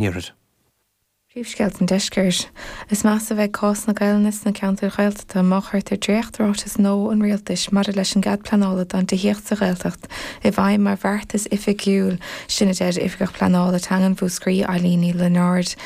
Iarthair. Príomhscéalta an Deiscirt. Is measa a bheidh cás na Gaelainne sna ceantair Ghaeltachta má chuirtear dréacht-ráiteas nua an Rialtais maidir leis an gcead pleanála don tithíocht sa Ghaeltacht i bhfeidhm mar bheartas oifigiúil, sin a deir Oifigeach Pleanála Teangan Mhúscraí, Eileen Ní Lionáird.